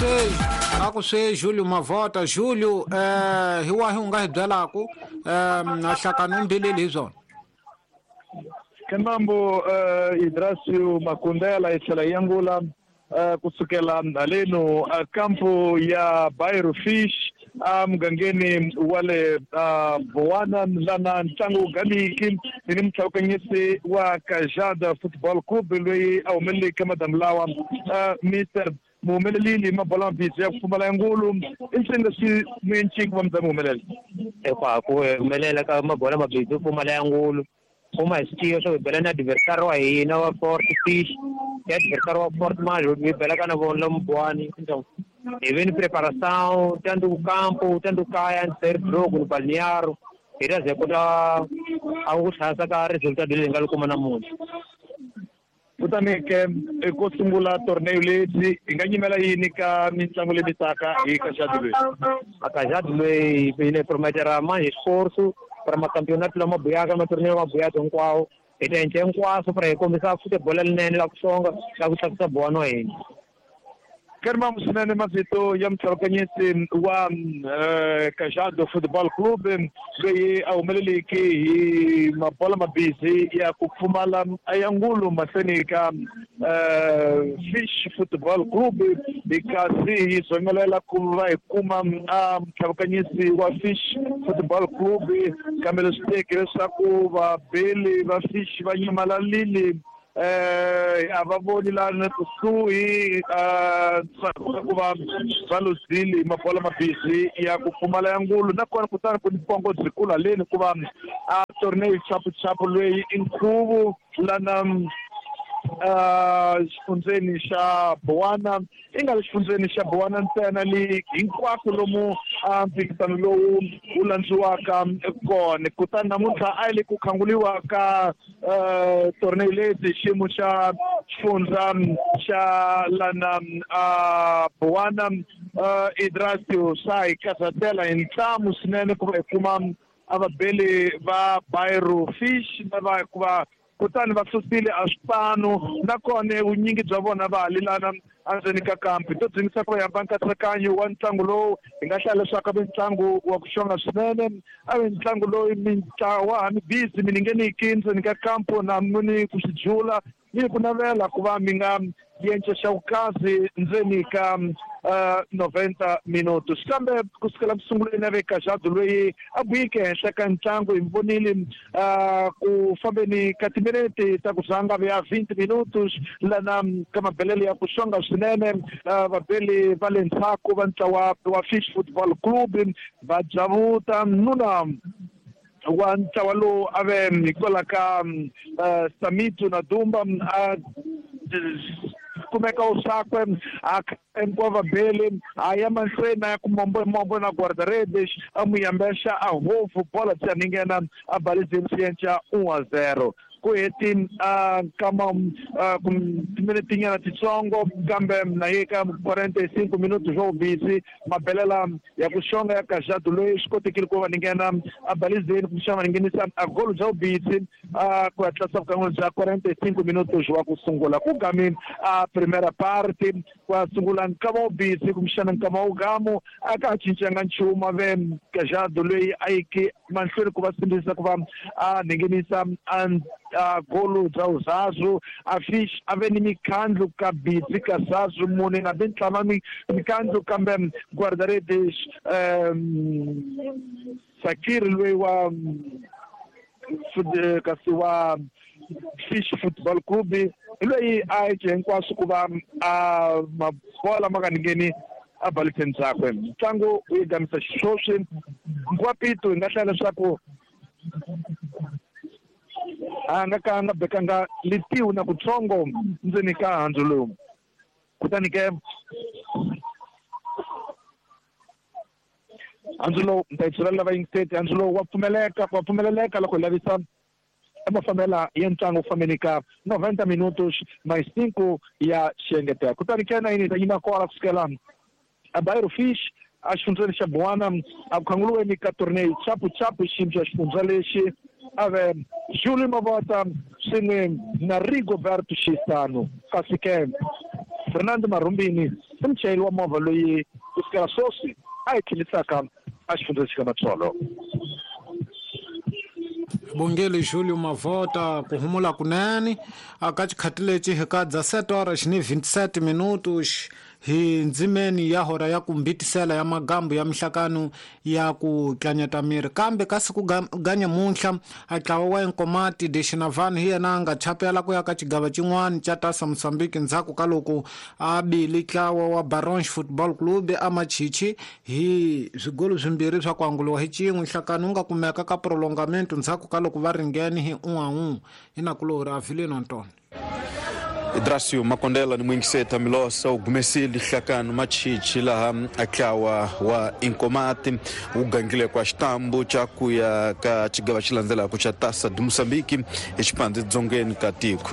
swe a ku swe Julio Mavota. Julio, hi wahi u nga hi byelaku nhlakani u mbileli hi swona? Kemambo Idrasio Makundela yi tlhela yi angula kusukela haleno kampo ya Bairro Fish emugangeni wa le Bowana lana ntlangu wu gamiki ni ni mutlhawukanyisi wa Kajada Football Club loyi a humeleleke madamu lawa Mr muhumelelile mabola mabisi ya ku pfumala ya ngulu i nsini leswi muyenciki va mi humelela ekwa ku humelela ka mabola mabisi yo pfumala ya ngulu kuma hi swi tiva swo hi bela na adversary wa hina wa Fort Fish ya adversary wa Fort manje hi belaka na vona lomu Buwani. Então hi ve ni preparação tanto campo tanto kaya antes jogo no balneário hi ta ze kota a ku tlhasa ka resultado leyi hi nga li kuma namuntlha. Kutani ke ko sungula torneo lebyi hi nga nyimela yini ka mitlangu leyi taka hi Kajado loyi? A Kajado loyi yi ne prometera manje esforço para macampeonato lama buyaka matorneo ma buyaka hinkwawo hi ta endla hinkwaswo para hi kombisa futebol lerinene la ku xonga la ku tlakusa Buwani wa hina. Karimamu swinene mavito ya mutlhawukanyisi wa Kajado Football Club loyi a humeleleke hi mabola mabisi ya ku pfumala ya ngulu mahlweni ka Fish Football Club hi kasi hi zongelela ku va hi kuma mutlhawukanyisi wa Fish Football Club kambe leswi teke leswaku vabeli va Fish va nyamalalile a va voni lana kusuhi ku va va luzile mabola mabisi ya ku pfumala ya ngulu nakona kutani ku ni pongo byikulu haleni ku va a torneo chapuchapu loyi i nkhuvu lana xifundzeni xa Bowana i nga le xifundzeni xa Bowana ntsena le hinkwako lomu mphikizano lowu wu landziwaka kona. Kutani namuntlha a yi le ku khanguliwa ka torneo leti xiyimo xa xifundza xa lana Bowana Idrasio swa hi karhatela hi ntlamu swinene ku va hi kuma a vabeli va Bairro Fish lava hikuva kutani va susile a swipano nakona vunyingi bya vona va halelana endzeni ka kampi to dzingisa ku va hamba nkatsakanyo wa ntlangu lowu hi nga hlaya leswaku a ve ntlangu wa ku xonga swinene a ve ntlangu loyi mintlawa mi busy mi ningeniki ndzeni ka kampo na mi ku swi jula ni ku navela ku va mi nga yenca xa vukazi ndzeni ka 90 minutos kambe kusukela ku sunguleni a ve Kajado loyi a buyike henhla ka ntlangu hi vonile ku fambeni ka timinete ta ku zanga ya 20 minutos lana ka mabelelo ya ku xonga swinene vabeli va le ndzhaku va ntlawa wa Fish Football Club va javuta nuna wa ntlawa lowu a ve hikwalaho ka Samitu na Dumba a kumeka usakwe a hinkwavo vabeli a ya mahlweni a ya ku mombo mombo na guarda-redes a n'wi yambexa a hofu bola byi ninghena a balizeni swi yenca 1-0 ku heti nkama timinetinyana titsongo kambe na ye ka 45 minutos swo busy mabelela ya ku xonga ya Kajado loyi swi kotekile ku va ninghena a balizeni kumbexana va ninghenisa a golo bya vubisi ku ya tlasa vukan'wini bya 45 minutos wa ku sungula ku gami a primera parte ku ya sungula nkama wo busy kumbexana nkama wo gamu a ka ha cincanga nchumu a ve Kajado loyi a yiki mahlweni ku va sindzisa ku va a ninghenisa a golo bya uzazu a Fish a ve ni mikhandlu ka busy ka zazu mune na bintlama mikhandlu kambe guarda-redes Sakir loyi wa kasi wa Fish Football Club loyi a yeke hinkwaswo ku va a mabola ma nga ningheni a baliseni byakwe ntlangu wu yi gamisa xiswoswi nkwapito hi nga hlaya leswaku a nga ka nga bekanga litiwu na kutsongo ndzeni ka handzu lowu kutani ke handzu lowu ni ta yi byela lava yingiseti handzu lowu wa pfumeleka wa pfumeleleka loko hi lavisa mafambela ya ntlangu fambeni ka 90 minutos mais 5 ya xiengetelo kutani ke na yini hi ta yima kona kusukela a Bairro Fish a xifundzeni xa Bowana a ku khanguriweni ka torneo chapuchapu xiyimo xa xifundza lexi a ve Julio Mavota swin'we na Rigoberto Xisano kasi ke Fernando Marumbini i muchayeri wa movha loyi ku sukela sweswi a hi tlhelisaka a xifundzeni xika Matsolo. Bongele Julio Mavota ku humula kunene aka xikhati lexi hi ka 17 horas ni 27 minutos hi ndzimeni ya hora ya ku mbitisela ya magambu ya mihlakano ya ku tlanyata miri kambe ka siku ga nyamuntlha a ntlawa wa Inkomati de Xinavani hi yena a nga chapela ku ya ka xigava xin'wana xa Tasa Mozambique ndzhaku ka loko a bile ntlawa wa Barons Football Club a Machichi hi swigolo swimbirhi swa ku anguliwa hi xin'we. Nhlakano wu nga kumeka ka prolongamento ndzhaku ka loko va ringene hi 1-1 hi nakulorhi Avilino Antonio. Idrasio Makondela ni mwingiseta Milosa u gumesile nhlakano Machichi laha ntlawa wa Inkomati wu gangile kwa xitambu xa ku ya ka xigava xi landzelaka xa Tasa de Mozambique exipandzi dzongeni ka tiko.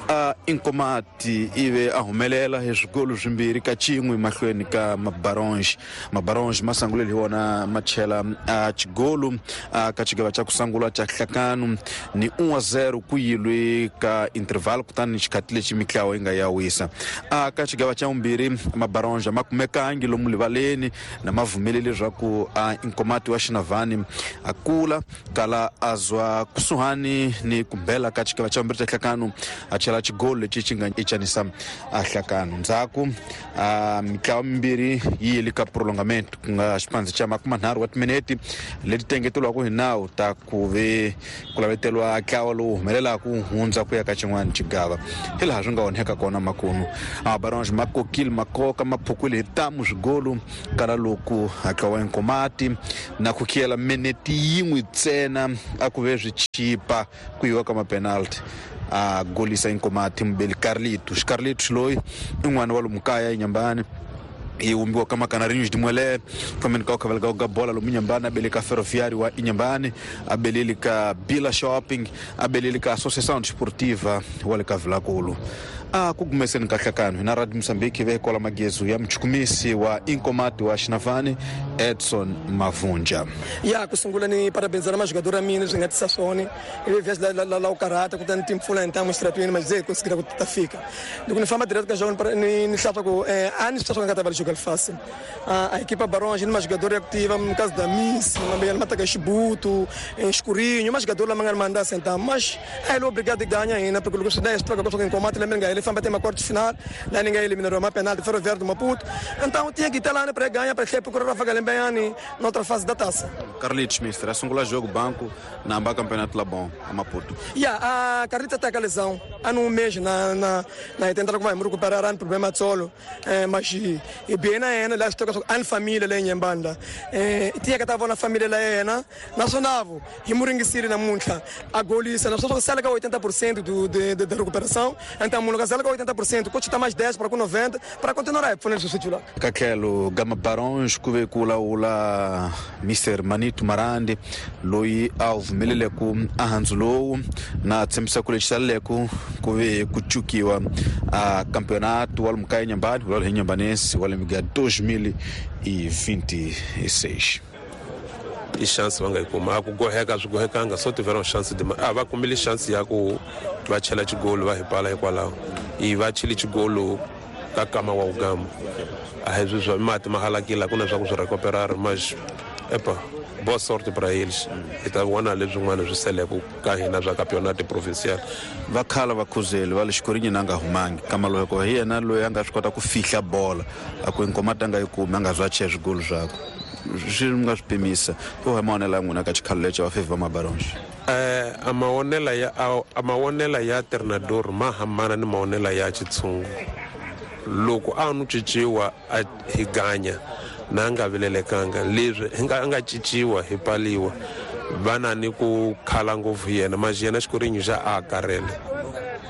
A Inkomati ive a humelela hi swigolo swimbirhi ka xin'we mahlweni ka Mabaronge. Mabaronge ma sangulele hi wona ma chela a xigolo ka xigava xa ku sungula xa nhlakano ni 1-0 ku yilwe ka interval kutani xikhati lexi mitlawa yi nga ya wisa. A ka xigava xa vumbirhi Mabaronge ma kumekangi lomu rivaleni na ma pfumeleli leswaku a Inkomati wa Xinavani a kula kala a zwa kusuhani ni kumbela ka xigava xa vumbirhi xa nhlakano a chela xigolo lexi xi nga ichanisa a nhlakano. Ndzhaku a mitlawa mimbirhi yi yile ka prolongamento ku nga xipandzi xa 30 wa timinete leti tengeteriwaka hi nawu ta ku ve ku laveteriwa ntlawa lowu humelelaka ku hundza ku ya ka xin'wana xigava hi laha swi nga onheka kona makunu. Mabaronge ma kokile makoka ma phukwile hi tamu swigolo kala loko ntlawa wa Inkomati na ku khiyela minete yin'we ntsena a ku ve swi chipa ku yiwa ka mapenalty a golisa Inkomati mubeli Carlito. Xicarlito loyi i n'wana wa lomu kaya eNyambani i vumbiwa ka Macanarinhos de Muelé fambeni ka khaveleka ka bola lomu Nyambani a bele ka Ferroviário wa Inhambane a beleli ka Bila Shopping a beleli ka Associação Desportiva wa le ka Vilankulu. A ku gumeseni ka nhlakano hina Radio Mozambique ve kola magezu ya muchukumisi wa Inkomati wa Xinavani Edson Mavunja. Ya ku sungula ni parabenizana majogador a mina leswi nga tisa swona ivi vhesi la u karhata kutani timpfula hi ntamu exitratweni mas ze konsigira ku ta fika loko ni famba direct ka jogo ni hlaswa ku a ni swi twa nga ta va jogo fácil. A equipa Baronge ni majogador ya ku tiva no caso da Miss mambeyana mataka xibutu escurinho majogador lama nga ni manda sentar mas a ele obrigado a ganhar ainda porque loko swi dá swi twa Inkomati lembe nga ele famba até uma quarta final lá ninguém eliminou uma penalti Ferroviário do Maputo, então tinha que estar lá para ganhar para procurar Rafa Galembeani na outra fase da taça. Carlitos mister, a sungula jogo banco na amba campeonato lá bom a Maputo. Yeah, a Carlitos tá com a lesão há um mês na tentar que vai recuperar um problema solo, mas e bem na ena lá estou com a família lá em Nhembanda. Tinha que estar na família lá ena, nacional, e Moringuiciri na Muncha, a golista, nós só sala 80% do de recuperação, então mundo sala 80%, coach tá mais 10 para com 90 para continuar a fazer o titular. Kakelo Gama Barons kuve kula ula Mr Manito Marandi loyi a vumelele ku ahanzulowu na tshembisa ku lexi ku ve ku chukiwa a campeonato wa Mukaya Nyambani wa Nyambanense wa lembe 2026. I chance va nga yi kuma a ku goheka swi gohekanga so tiveram chance de a va kumile chance ya ku va chela xigolo va hi pala hikwalaho i va chile xigolo ka kama wa ugamba a hi swi swa mati ma halakile ku na swa ku swi recuperar mas epa boa sorte para eles hi ta vona leswin'wana swi seleke ka hina swa campeonato provincial. Va khala va khuzeli va le xikorinyi na nga humangi kama loko hi yena loyi a nga swi kota ku fihla bola a ku Inkomati a nga yi kumi a nga zwa chela swigolo swakwe swi nga swi pimisa ku hi maonela ya n'wina ka xikhalo lexi va fevha Mabaronge. A maonela ya treinador ma hambana ni maonela ya xitshungu. Loko a nu cinciwa a hi ganya na nga vilelekanga leswi a nga cinciwa hi paliwa va na ni ku khala ngopfu yena mas yena xikorinyi xa a karhele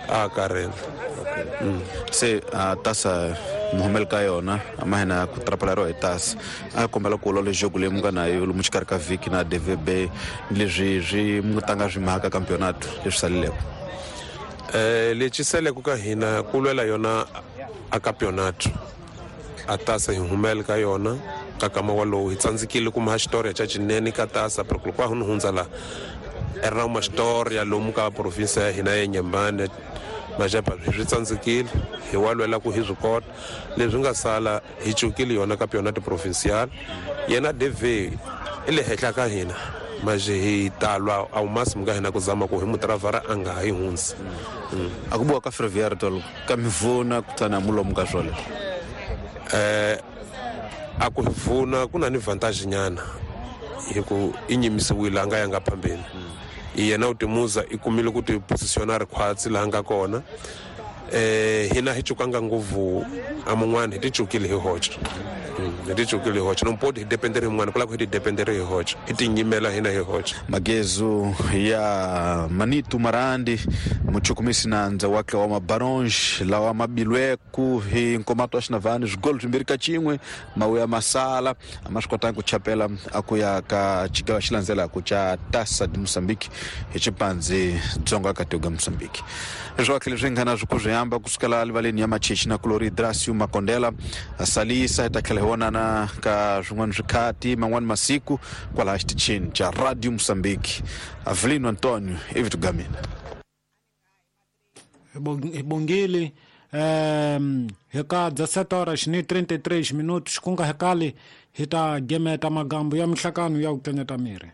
a karhele. Se tasa muhumeli ka yona a ma hina ku trapaleriwa hi tasa a kombela ku lwa jogo leyi mu nga na yo lomu xikarhi ka vhiki na DVB leswi swi mu tanga swi mhaka campeonato leswi saleleke. Lexi seleke ka hina ku lwela yona a campeonato a tasa hi humele ka yona ka kama walowu hi tsandzekile kuma xitori xa xinene ka tasa porque loko a ni hundza la i ri na uma história lomu ka province ya hina ya Nyambane Majepa swi tsandzekile hi wa lwela ku hi swi kota leswi nga sala hi cukile yona ka pyona ti-provincial yena DV i le henhla ka hina maje hi talwa a wu masimu ka hina ku zama ku hi mutiravhara a nga ha yi hundzi. A ku buwa ka Ferroviário tolo ka mivuna kutani a mulomu ka swoleswo. A ku vuna ku na ni vantage nyana hi ku i nyimisiwile a nga yanga phambeni. Yena u timuza i kumile ku ti positiona ri khwatsi laha nga kona. Hina hi cukanga ngopfu a mun'wana hi ti cukile hi hoxa. Hi ti cukile hi hoxa nompoti hi dependere hi mun'wana ku lava ku hi ti dependere hi hoxa hi ti nyimela hina hi hoxa. Magezu ya Manitu Marandi muchukumisi nandza wa wa mabaronge lawa mabilweku hi nkomato wa xinavhani swigolo 2-1 mawuya masala a ma swi kotanga ku chapela a ku ya ka xigava xi landzelaka xa Taça de Moçambique hi xipandzi dzonga ka tiko Moçambique. Leswi leswi nga na swi ku swi hamba kusukela livaleni ya Machichi na Kulori Dracio Makondela salisa hi ta tlhela hi vonana ka swin'wana swikhati man'wani masiku kwalaha xitichini xa Radio Moçambique. Avelino Antonio i vito ga mina. Hi bongile hi ka 17 horas ni 33 minutos ku nga hekali hi ta gemeta magambo ya mihlakano ya ku kenyeta miri.